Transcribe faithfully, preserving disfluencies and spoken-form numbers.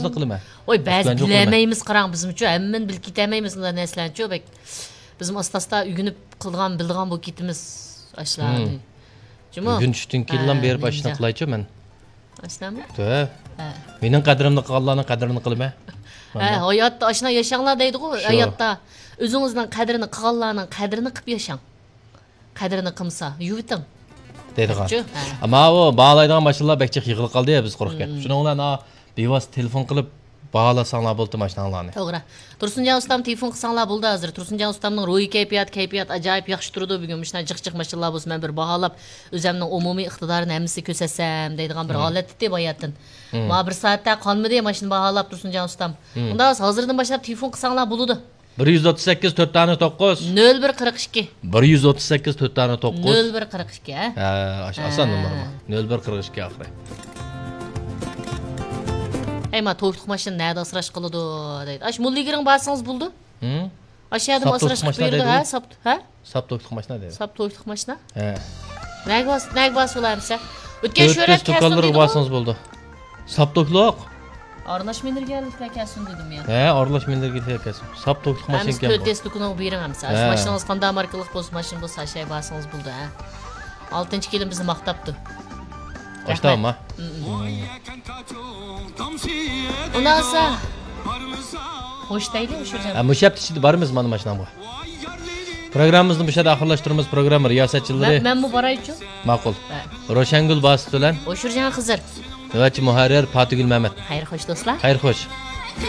قىلىمەن. ۋاي، بەزى بىلەلمەيمىز، قاراڭ، بىزمۇچۇ ھەممىنى بىلىپ كېتەلمەيمىز، مۇنداق نەرسىلەرنىچۇ بەك. بىزمۇ ئاستا-ئاستا ئۆگىنىپ قىلىدىغان، بىلىدىغان بولۇپ كېتىمىز ئاشۇلارنى. جۇمۇ. بۈگۈن چۈشتىن كېيىنلا بېرىپ ئاشۇنى قىلايچۇ مەن. ئاشۇنامۇ؟ ھە. مېنىڭ قەدرىمنى قىلغانلارنىڭ قەدرىنى قىلىمەن. ھە، ھاياتتا ئاشۇنداق ياشاڭلار دەيدىغۇ، ھاياتتا. ئۆزىڭىزنىڭ قەدرىنى قىلغانلارنىڭ قەدرىنى قىلىپ ياشاڭ. قەدرىنى قىلمىسا، يۇۋىتىڭ. دەيدىغان. شۇ، ھە. ئەمما ئۇ باھالايدىغان ماشىنىلار بەك جىق يىغىلىپ قالدى، بىز قورقۇپ كەتتۇق. شۇنىڭ بىلەن، ھە، بىۋاسىتە تېلېفون قىلىپ باھالاساڭلار بولدى ماشىناڭلارنى. توغرا. تۇرسۇنجان ئۇستام تېلېفون قىلساڭلار بولدى ھازىر. تۇرسۇنجان ئۇستامنىڭ روھىي كەيپىيات، كەيپىيات ئاجايىپ ياخشى تۇرىدۇ. بۈگۈن مۇشۇنداق جىق جىق ماشىنىلار بولسا مەن بىر باھالاپ، ئۆزەمنىڭ ئومۇمىي ئىقتىدارىنى ھەممىسىگە كۆرسەتسەم دەيدىغان بىر ھالەتتە باياتىن. ماڭا بىر سائەتتە قالمىدى ماشىنا باھالاپ، تۇرسۇنجان ئۇستام. ئۇنداق ھازىردىن باشلاپ تېلېفون قىلساڭلار بولىدۇ. بىر يۈز ئوتتۇز سەككىز، تۆت دانە توققۇز. نۆل بىر قىرىق ئىككى. بىر يۈز ئوتتۇز سەككىز، تۆت دانە توققۇز. نۆل بىر قىرىق ئىككى، ھە؟ ھە، ئاش-، ئاسان نومۇر بۇ. نۆل بىر قىرىق ئىككى ئاخىرى. ئەي، ما توكلۇق ماشىنا نەدە ئاسراش قىلىدۇ دەيدۇ. ئاش مۇللىگىرىڭ بارسىڭىز بولىدۇ. ھە؟ ئاشۇ يەردىمۇ ئاسراش قىلىپ بېرىدۇ، ھە؟ ساپ، ھە؟ ساپ توكلۇق ماشىنا دەيدۇ. ساپ توكلۇق ماشىنا؟ ھە. نەگە باس-، نەگە بارسا بولار ئەمسە؟ ئۆتكەن شۆرەك كەلسۇن دېدىغۇ. ساپ توكلۇق. ئارىلاش مىندۈرگەنلىكلەر كەلسۇن دېدىم يا. ھە، ئارىلاش مىندۈرگەنلىكلەر كەلسۇن. ساپ توكلۇق ماشىنا ئىكەن بۇ. تۆت دېسكىنى بېرىڭ ئەمسە. ھە. ماشىنىڭىز قانداق ماركىلىق بولسا، ماشىنا بولسا، ئاشاي بارسىڭىز بولدى، ھە. ئالتىنچى كېلىن بىزنى ماختاپتۇ. ئاشتاما؟ ئۇنداقسا خوش دەيلى، ئۇشۇرجان. ھە، مۇشۇ ھەپتە ئىچىدە بارىمىز مانا ماشىنامغا. پروگراممىمىزنى مۇشۇ يەردە ئاخىرلاشتۇرىمىز. پروگرامما رىياسەتچىلىرى. مەن، مەنمۇ بارايچۇ. ماقۇل. ھە. روشەنگۈل باسىت بىلەن. ئۇشۇرجان خىزىر. نۆۋەتچى مۇھەررىر پاتىگۈل مەمەت. خەير خوش دوستلار. خەير خوش.